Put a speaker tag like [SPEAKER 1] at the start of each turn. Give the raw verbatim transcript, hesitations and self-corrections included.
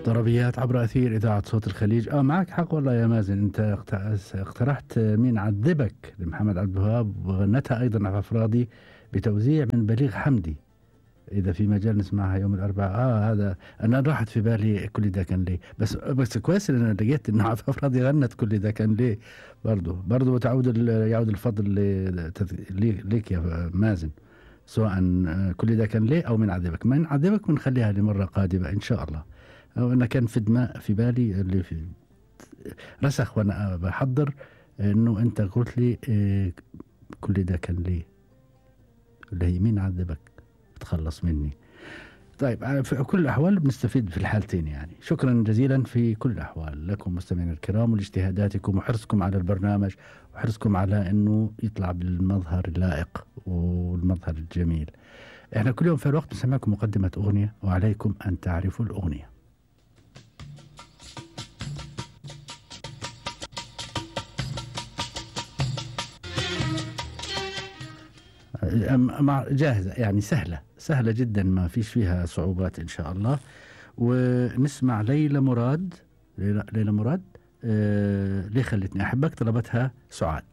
[SPEAKER 1] ضربيات عبر أثير إذاعة صوت الخليج. آه معك حق والله يا مازن، أنت اقت- اقترحت مين عذبك لمحمد عبد الوهاب، وغنتها أيضا عفاف راضي بتوزيع من بليغ حمدي. إذا في مجال نسمعها يوم الأربعاء. آه هذا أنا راحت في بالي كل ده كان ليه، بس بس كويس إن أنا لقيت إنه عفاف راضي غنت كل ده كان ليه. برضو برضو تعود ال- يعود الفضل ل- تذ- لي- ليك يا مازن، سواء آه، كل ده كان ليه أو من عذبك. من عذبك بنخليها لمرة قادمة إن شاء الله. أو أنا كان في دماء في بالي اللي في رسخ وأنا بحضر، إنه أنت قلت لي آه، كل ده كان ليه، اللي هي مين عذبك تخلص مني. طيب آه، في كل الأحوال بنستفيد في الحالتين يعني. شكرا جزيلا في كل الأحوال لكم مستمعينا الكرام، ولاجتهاداتكم وحرصكم على البرنامج، وحرصكم على أنه يطلع بالمظهر اللائق والمظهر الجميل. احنا كل يوم في الوقت نسمعكم مقدمة أغنية، وعليكم أن تعرفوا الأغنية. أم- مع- جاهزة يعني، سهلة سهلة جدا، ما فيش فيها صعوبات إن شاء الله. ونسمع ليلى مراد. ليلى, ليلى مراد، آه ليه خلتني أحبك، طلبتها سعاد.